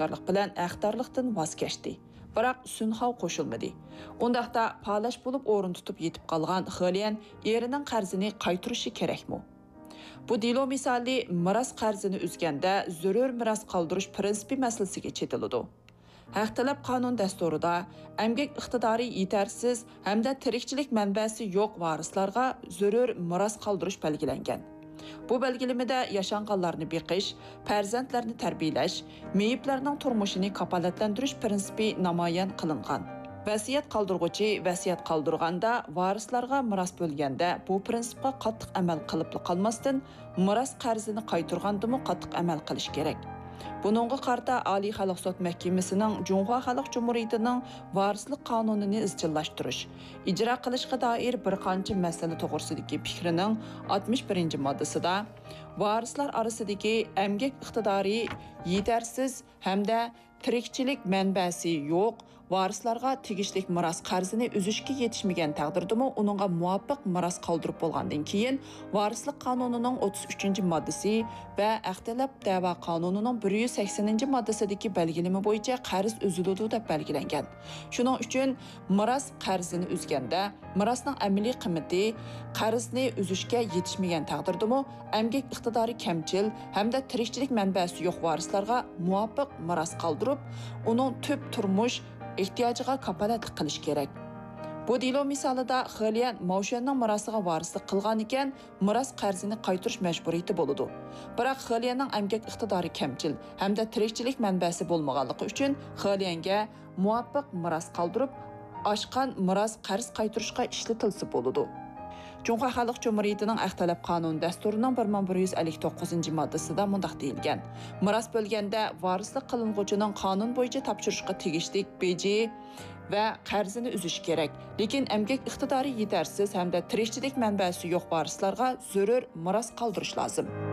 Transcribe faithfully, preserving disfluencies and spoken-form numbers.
ھوشيارلىق بىلەن ھەقدارلىقتىن ۋاز كەچتى. بىراق سۈنخاۋ قوشۇلمىدى. ئۇنداقتا پالەچ بولۇپ ئورۇن تۇتۇپ يېتىپ قالغان خېليەن ئېرىنىڭ قەرزىنى قايتۇرۇشى كېرەكمۇ؟ بۇ دېلو مىسالى مىراس قەرزىنى ئۈزگەندە زۆرۈر مىراس قالدۇرۇش پىرىنسىپى مەسىلىسىگە چېتىلىدۇ. ھەق تەلەپ قانۇن دەستۇرىدا ئەمگەك ئىقتىدارى يېتەرسىز ھەمدە تىرىكچىلىك مەنبەسى يوق ۋارىسلارغا زۆرۈر مىراس قالدۇرۇش بەلگىلەنگەن. بۇ بەلگىلىمىدە ياشانغانلارنى بېقىش، پەرزەنتلەرنى تەربىيەلەش، مېيىپلەرنىڭ تۇرمۇشىنى كاپالەتلەندۈرۈش پىرىنسىپى نامايان قىلىنغان. ۋەسىيەت قالدۇرغۇچى ۋەسىيەت قالدۇرغاندا، ۋارىسلارغا مىراس بۆلگەندە بۇ پىرىنسىپقا قاتتىق ئەمەل قىلىپلا قالماستىن، مىراس قەرزىنى قايتۇرغاندىمۇ قاتتىق ئەمەل قىلىش كېرەك. بۇنىڭغا قارىتا ئالىي خەلق سوت مەھكىمىسىنىڭ جۇڭخۇا خەلق جۇمھۇرىيىتىنىڭ ۋارىسلىق قانۇنىنى ئىزچىللاشتۇرۇش، ئىجرا قىلىشقا دائىر بىر قانچە مەسىلە توغرىسىدىكى پىكرىنىڭ ئاتمىش بىرىنچى ماددىسىدا ۋارىسلار ئارىسىدىكى ئەمگەك ئىقتىدارى يېتەرسىز ھەمدە تىرىكچىلىك مەنبەسى يوق ۋارىسلارغا تېگىشلىك مىراس قەرزىنى ئۈزۈشكە يېتىشمىگەن تەقدىردىمۇ، ئۇنىڭغا مۇۋاپىق مىراس قالدۇرۇپ بولغاندىن كېيىن، ۋارىسلىق قانۇنىنىڭ ئوتتۇز ئۈچىنچى ماددىسى ۋە ھەق تەلەپ دەۋا قانۇنىنىڭ بىر يۈز سەكسىنىنچى ماددىسىدىكى بەلگىلىمە بويىچە قەرز ئۈزۈلىدۇ دەپ بەلگىلەنگەن. شۇنىڭ ئۈچۈن مىراس قەرزىنى ئۈزگەندە، مىراسنىڭ ئەمەلىي قىممىتى قەرزنى ئۈزۈشكە يېتىشمىگەن تەقدىردىمۇ، ئەمگەك ئىقتىدارى كەمچىل ھەمدە تىرىكچىلىك مەنبەسى يوق ۋارىسلارغا مۇۋاپىق مىراس قالدۇرۇپ، ئۇنىڭ تۈپ تۇرمۇش ئېھتىياجىغا كاپالەتلىك قىلىش كېرەك. بۇ دېلو مىسالىدا خېليەن ماۋشۈەننىڭ مىراسىغا ۋارىسلىق قىلغانىكەن، مىراس قەرزىنى قايتۇرۇش مەجبۇرىيىتى بولىدۇ. بىراق خېليەننىڭ ئەمگەك ئىقتىدارى كەمچىل ھەمدە تىرىكچىلىك مەنبەسى بولمىغانلىقى ئۈچۈن، خېليەنگە مۇۋاپىق مىراس قالدۇرۇپ، ئاشقان مىراس قەرز قايتۇرۇشقا ئىشلىتىلسە بولىدۇ. جۇڭخۇا خەلق جۇمھۇرىيىتىنىڭ ئەخ تەلەپ قانۇن دەستۇرىنىڭ بىر مىڭ بىر يۈز ئەللىك توققۇزىنچى ماددىسىدا مۇنداق دېيىلگەن: مىراس بۆلگەندە ۋارىسلىق قىلىنغۇچىنىڭ قانۇن بويىچە تاپشۇرۇشقا تېگىشلىك بېجى ۋە قەرزىنى ئۈزۈش كېرەك، لېكىن ئەمگەك ئىقتىدارى يېتەرسىز ھەمدە تىرىكچىلىك مەنبەسى يوق ۋارىسلارغا زۆرۈر مىراس قالدۇرۇش لازىم.